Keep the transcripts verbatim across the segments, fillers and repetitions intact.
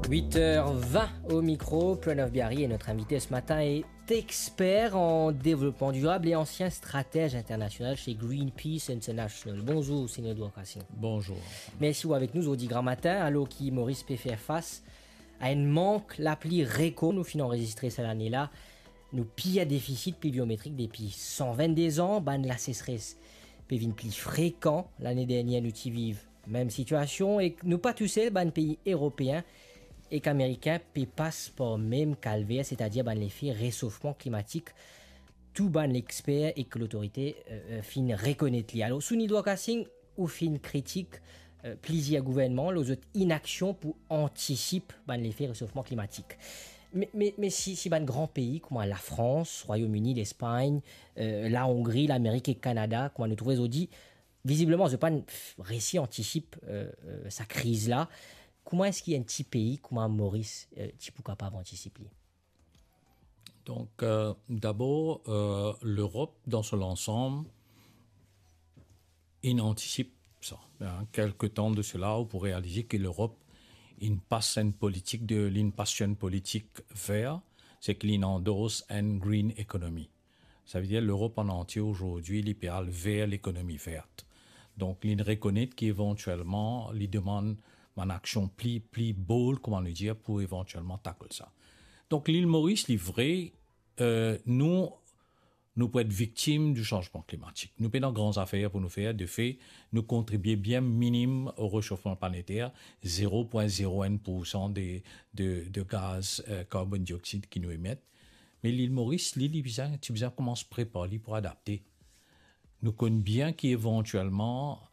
Huit heures vingt au micro, Pranav Biari est notre invité ce matin, est expert en développement durable et ancien stratège international chez Greenpeace International. Bonzour, Sunil Dwarkasing. Bonzour. Mersi ou avek nou zordi gramatin, alor ki Moris pe fer fas a enn mank lapli rekor. Nou finn anrezistre sa lane la nou pir defisit pliviometrik depi san vennde an. Bann lasesres pe vinn pli frekan. Lane dernier nou ti viv mem sitiasion, ek nou pa tousel, bann pei eropeen ek amerikin pe pas par mem kalver, setadir bann lefe resofman klimatik tou bann lexper ek lotorite, euh, euh, finn rekonet li. Alor, Sunil Dwarkasing, ou finn kritik, euh, plizier gouvernman lor zot inaksion pou antisip bann lefe resofman klimatik. Me, me, me si, si bann gran pei kouma Lafrans, Rwayom Ini, Lespagn, euh, Lahongri, Lamerik ek Kanada, kouma nou trouve zordi, vizibleman, zot pa'nn resi antisip, euh, euh, sa kriz la. Kouma eski enn ti pei kouma Moris, euh, ti pou kapav antisip li? Donk, euh, dabor, euh, Lerop, dan so lansam, inn antisip sa. Hein, kelke tan de sela, ou pou realize ki Lerop inn pas enn politik de, linn pas enn politik ver, se ki linn andors enn green economy. Savedir Lerop an antie azordi, li pe al ver lekonomi vert. Donk, linn rekonet ki evantielman, li demann bann aksion pli, pli bold, kouma nou dir, pou evantielman tackle sa. Donk, Lil Moris, li vre, euh, nou, nou pou et viktim di sanzman klimatik. Nou pena gran zafer pou nou fer, de fe, nou kontribie bien minim o resofman planeter, zero pwin zero enn poursan de, de, de gaz, euh, karbonn dioksid ki nou emet. Me Lil Moris, li, li bizin, ti bizin koumans prepar li pou adapte. Nou konn bien ki evantielman,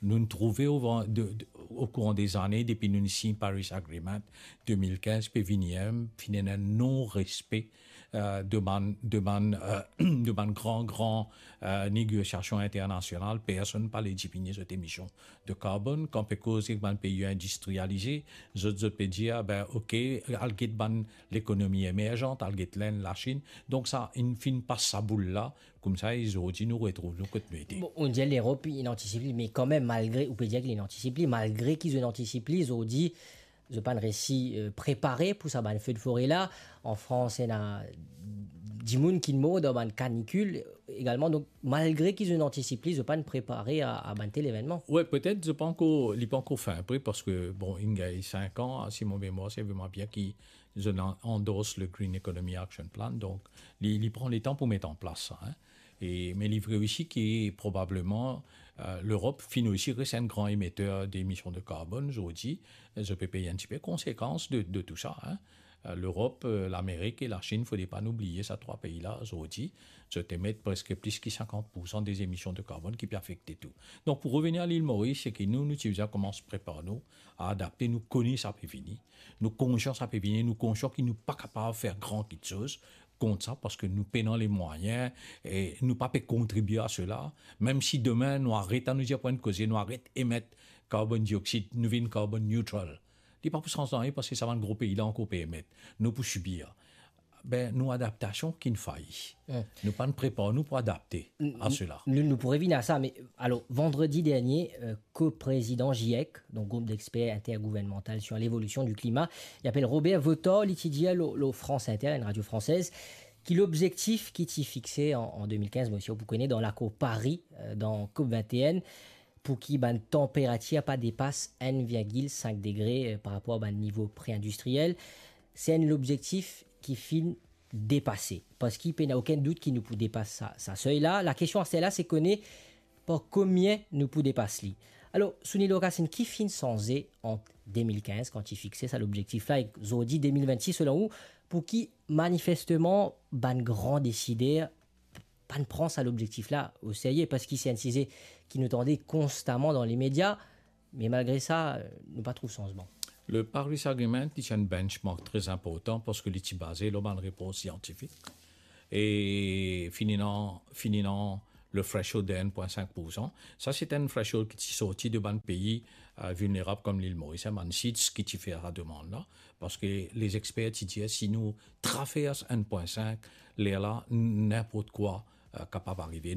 nou trouve o, de, de, o kouran de zane, depi nou sign Paris Agreement de mil kinz, pe vini, hein, finn ena non-respe, euh, de bann, de bann, euh, de bann gran, gran, euh, negosiasion internasional. Personn pa le dimini zot emision de karbonn. Kan pe koz ek bann pei indistrialize, zot, zot pe dir, "Ah ben, ok, al get bann lekonomi emerzan, al get Lenn, Lasinn." Donk sa, inn finn pas sa boul la, koumsa, e zordi nou retrouv nou kot nou ete. Bon, ou dir Lerop inn antisip li, me kanmem, malgre, ou pe dir ki linn antisip li, malgre ki zot inn antisip li, zordi, zot pa'nn resi, euh, prepare pou sa bann fe de fore la. An Frans, ena dimoun ki mor dan bann kanikil egalman. Donk, malgre ki zot inn antisip li, zot pa'nn prepare a, a bann tel evennman. Wi, petet, zot pa ankor, li pa ankor fin pre, parski, bon, inn gagn sink an, si mo memwar servi mwa bien, ki zot inn andors le Green Economy Action Plan. Donk, li, li pran letan pou met an plas sa, hein. E, me li vre osi ki probableman, euh, Lerop finn osi res enn gran emeter de emision de karbonn, zordi, zot pe pey enn tipe konsekans de, de tou sa, hein. Euh, Lerop, euh, Lamerik e Lasinn, fode pa nou bliye sa trwa pei la, zordi, zot emet preske plis ki sinkant poursan de emision de karbonn ki pe afekte tou. Donk, pou revenir a Lil Moris, se ki nou, nou ti bizin koumans prepar nou a adapte, nou kone sa pe vini, nou konsian sa pe vini, nou konsian ki nou pa kapav fer gran kiksoz kont sa, parski nou pena lemwayin e nou pa pe kontribie a sela. Mem si demin nou aret, anou dir pou enn koze, nou aret emet karbonn dioksid, nou vinn karbonn neutral, li pa pou sanz nanye, parski sa bann gro pei la ankor pe emet. Nou pou sibir. Ben, nou adaptasion ki'nn fay. Hmm. Nou pa'nn prepar nou pou adapte a sela. Nou, nou pou revinn a sa, me alor, vandredi dernie, euh, koprezidan GIEC, donk Groupe d'experts intergouvernemental sur l'évolution du climat, li apel Robert Vautort, li ti dir lor, lor France Inter, enn radio fransez, ki lobzektif ki ti fixe an, an de mil kinz, mo sir ou pou kone, dan lakor Paris, euh, dan COP vingt et un, pou ki bann tanperatir pa depas enn virgil sink degre, euh, par rapor a bann nivo pre-industriel, se enn lobzektif ki finn depase. Parski pena okenn dout ki nou pou depas sa, sa sey la. Lakestion aster la, se kone par komie nou pou depas li. Alor, Sunil Dwarkasing, ki finn sanze ant de mil kinz, kan ti fixe sa lobzektif la, ek zordi de mil vennsis, selon ou, pou ki manifesteman bann gran desider pa'nn pran sa lobzektif la o serye, parski se enn size ki nou tande konstaman dan lemedia, me malgre sa, nou pa trouv sanzman. Le Paris Agreement, li ti enn benchmark tre inportan parski li ti baze lor bann repor siantifik. E finn ena, finn ena le threshold de enn pwin sink poursan. Sa, se enn threshold ki ti sorti de bann pei, euh, vilnerab kom Lil Moris, hein, bann SIDS ki ti fer sa demann la. Parski lezexper ti dir, si nou travers enn pwin sink, lerla, n-, ninport kwa, euh, kapav arive.